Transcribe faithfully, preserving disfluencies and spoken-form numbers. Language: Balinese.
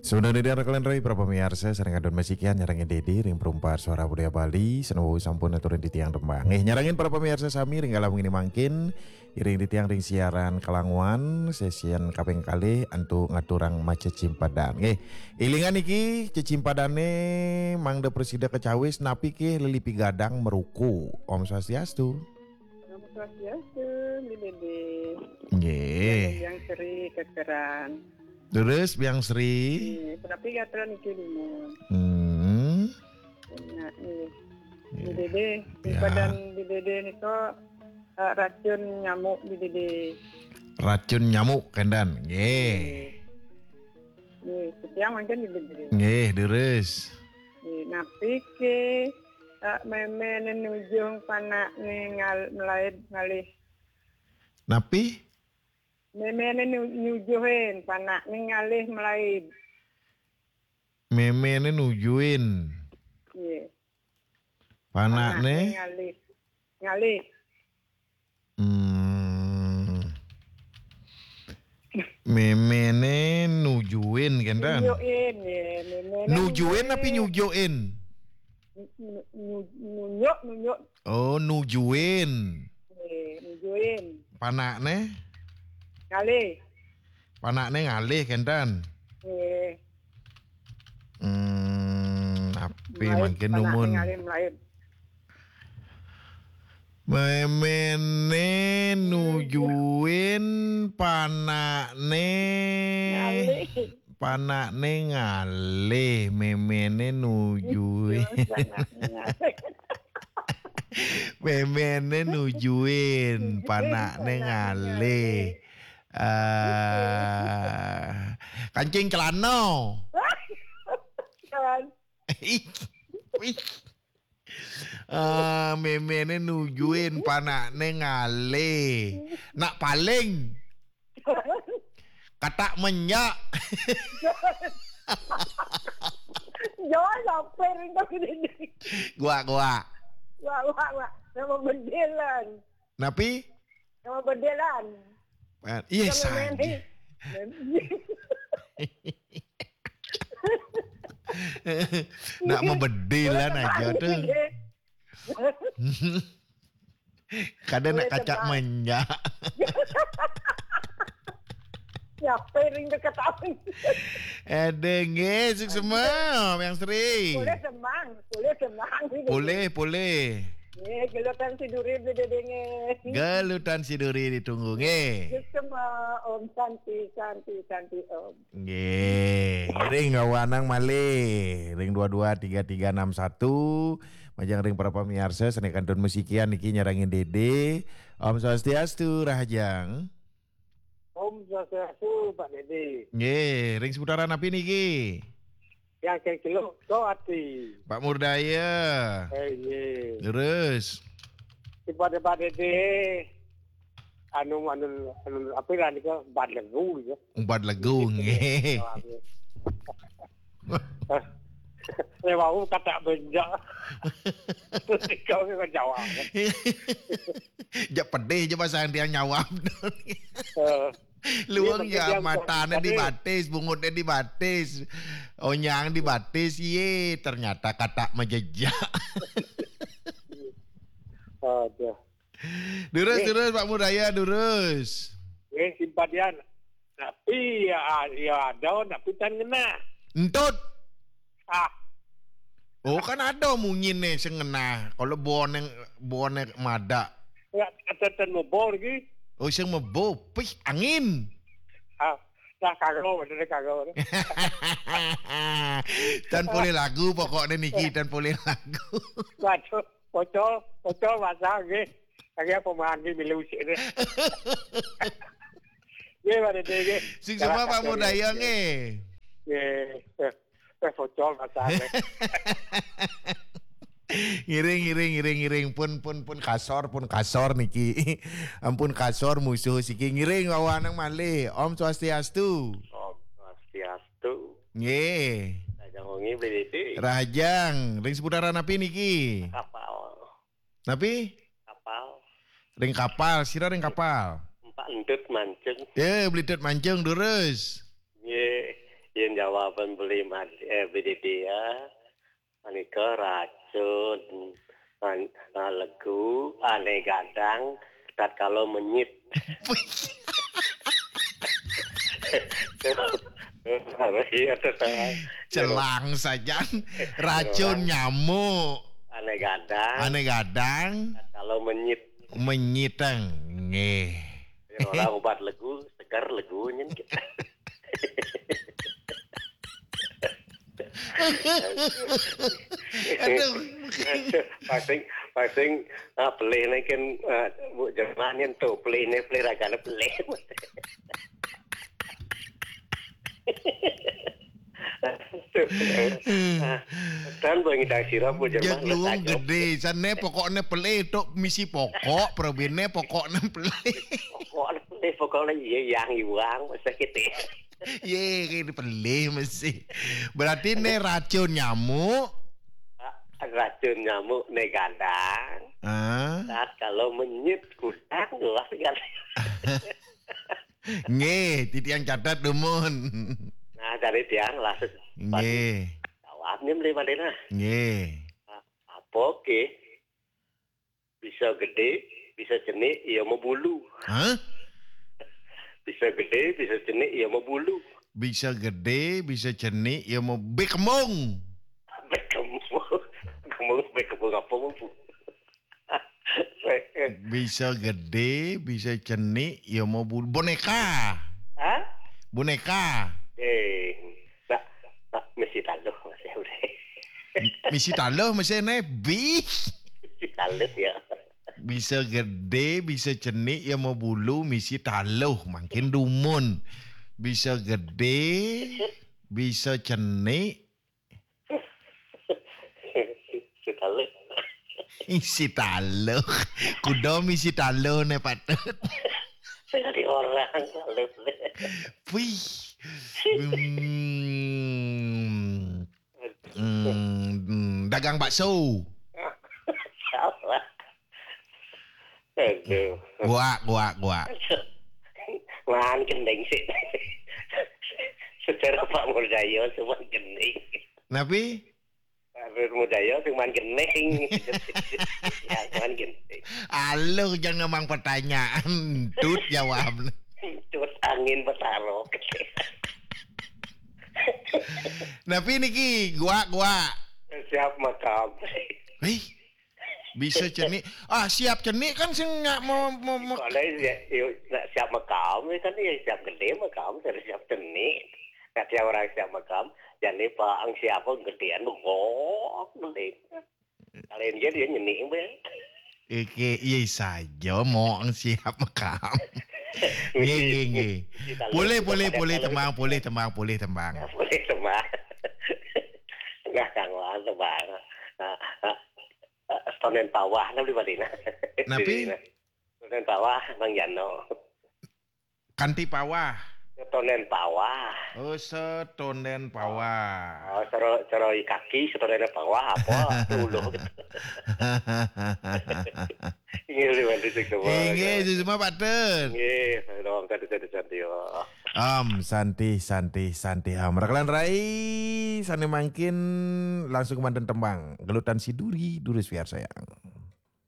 Sebenarnya dia kalian rai para pemirsa, sareng kantun masikian nyarengin Dede ring Perumpa Suara Budaya Bali, sanawi sampun aturin titiang tembang. Nggih, nyarengin para pemirsa sami ring galah wengi mangkin, iring titiang ring siaran Kalanguan, sesian kaping kalih antuk ngaturang macecimpadan. Nggih, ilingan niki cecimpadane mangda prasida kacawis napi ke lelipi gadang meruku. Om Swastiastu. Om Swastiastu, Bli Dede. Nggih. Biang Sri kekeran. Terus Biang Sri. Nggih, tapi gatra niki limun. Hmm. Nah, nggih. Nggih. Bli Dede, ya. Badan Bli Dede nika, eh, racun nyamuk Bli Dede. Racun nyamuk, kenten. Nggih. Nggih. Nggih, titiang mangkin Bli Dede. Nggih, terus. Nggih, napi ke, eh, memene nujuh panakne ngal-, melaib ngalih? Napi? Memene nu-, nujuhin panakne ngalih melaib. Memene nujuhin. Nggih. Panakne? Panakne ngalih. Ngalih. Hmm. Memene nujuhin, kenten? Nujuhin, nggih, memene nujuhin. Nujuhin napi nyujuhin? Nu-, nu-, nunjuk, nunjuk. Oh, nujuhin. Nggih, nujuhin. Panakne? Ngalih. Panakne ngalih, kenten? Nggih. Hmm, napi melaib, mangkin panakne numun? Ngalih melaib. Memene nujuhin panakne. Ngalih. Panakne ngalih, memene nujuhin. Nujuhin panakne ngalih. Memene nujuhin, nujuhin panakne panakne ngalih. Ngalih. Ah, kancing celana. Kan. Ih, ih. Ah, memene nujuhin panakne ngalih. Nak paling. Katak menyak. Jangan sampai rindu ini. Gua, gua. Wah, wah, wah. Nama bedelan. Napi? Nama bedelan. Eh, iya. Nama saja. Meme. Nak mabedilan aja tuh. Kada nak katak menyak. Siapa ring ketahui? Ada nggih, suksma, Biang Sri. Boleh semang, boleh semang. Boleh, boleh. Nggih, gelutan si duri beli dede nggih. Gelutan si duri ditunggu nggih. Suksma, Om Santi, Santi, Santi, Om. Nggih, ring awanang malih, ring dua dua tiga tiga enam satu, majeng ring para pamiarsa, sané kantun masikian niki nyarengin Dede. Om Swastiastu, rahajeng. Om Swastiastu, Pak Dede. Nggih, ring seputaran napi niki? Yang keng kilo, so ati. Pak Murdaya. Eh, nggih. Terus? Di pada Pak Dede, anu, anu, anu, apa lah nika, bad legu gitu. Bad legu, nggih. Lewat katak menyak. Terus kau ke jawab. Jak pedih je pasal dia nyawab. Eh. Luang ya, matane di batis, bungutne di batis, onyang di batis, ye, ternyata katak majejak. Aduh. Durus, eh. Durus, Pak Murdaya, durus. Eh, simpatian. Tapi ya, ya ada, tapi tan ngena. Entut. Ah. Oh, kan ada munyine sing ngena. Kalau bone, bone madak. Ya, ada tan mebor lagi. Oh, sing mebor. Pih, angin. Ah, dah kagak, bener kagak. Tan boleh lagu pokoknya niki, tan boleh lagu. Waduh, pocol, pocol masa nggih. Kagak pemahan nggih milu sik deh. Nggih, Pak Dede nggih. Sing semua Pak Murdaya nggih. Nggih. Eh, pocol masa nggih. Ngiring, ngiring, ngiring, ngiring. Pun, pun, pun kasor, pun kasor niki. Ampun kasor musuh siki. Ngiring wawanang malih. Om Swastiastu. Om Swastiastu. Nggih. Rahajeng wengi, Bli Dede. Rahajeng, ring seputaran napi niki? Kapal. Napi? Kapal. Ring kapal, sira ring kapal. Empak Entut mancing. Eh, Bli Entut mancing, durus. Nggih. Yen jawaban beli mad- eh, B D D ya, menika racun, an- ah, legu, aneh gadang, tatkala menyit. Iya, tuh, salah. Celang saja. Racun nyamuk. Aneh gadang, Aneh gadang. Tatkala menyit. Menyiteng. Nggih. Yen ora obat legu, seger legu nyen. Aduh. Pasing, pasing, ah, pelih nih kan, ah, Bu Jerman yen tuh pelih nih, pelih ragane pelih. Tuh. Ah, dan bang idang sira, Bu Jerman, Jek luwung letak jawab. Gede, sane pokokne pelih tok, misi pokok, probene pokokne pelih. Pokokne pelih, pokokne iya, yang iwang, masa gitu. Ye, kene pelih mesti. Berarti ne racun nyamuk. Racun nyamuk ne gadang. Ah, Tatkala menyit kudang, jelas kan. Nggih, titiang catet dumun. Nah, dari tiang lah. Nggih. Jawabnya beli mana? Nggih. Apa ke? Bisa gede, bisa cenik, ya mau bulu. Hah? Bisa gede, bisa cenik, ya mau bulu. Bisa gede, bisa cenik, ya mau bekembung. Bekembung. Bekembung, bekembung apa mau bu? Bisa gede, bisa cenik, ya mau bulu. Boneka. Hah? Boneka. Eh, nak, nak mesti taluh masih udah. Misi taluh mesti ne bis. Mesti taluh ya. Bisa gede, bisa cenik, ya mau bulu, misi taluh, makin dumun. Bisa gede, bisa cenik, Mesti taluh. isi taluh. Kuda misi taluh ne patut. Saya di orang taluh. Wih. Hmm. Hmm, dagang bakso. Salah. Aduh. Guak, guak, guak. Wan gendeng sih. Secara Pak Murdayo cuma gendeng. Napi? Pak Murdayo cuma gendeng. Ya, cuma gendeng. Aluh, jangan mang pertanyaan. Tut jawab. Terus angin betaro. Napi niki? Guak, guak. Siap makam. Hei. Bisa cenik. Ah, siap cenik kan sing nggak mau, mau, mau. Kalau ya, yuk, nak siap makam ya kan ya siap gede makam, terus siap cenik. Nah, tiap orang siap makam, jadi Pak ang siapa gedean bengok gede. Kalian dia dia nyenik be. Iki iya saja mau siap makam. Nggih, nggih, nggih. Boleh, boleh, boleh tembang, boleh tembang, boleh tembang. Boleh tembang. Nah, kang Wan tembang. Nah, nah, Stonen Pawah, nah beli balik nah. Napi? Stonen Pawah, Bang Jano. Kanti Pawah. Stonen Pawah. Oh, setonden Pawah. Oh, sero, sero kaki, Stonen Pawah apa? Dulu. Ini beli balik sih semua. Inggih, semua patut. Nggih, dong tadi saya cantik. Om Santi, Santi, Santi Om. Rakalan rai, sane mangkin langsung manten tembang. Gelutan si Duri, Duri Swiar sayang.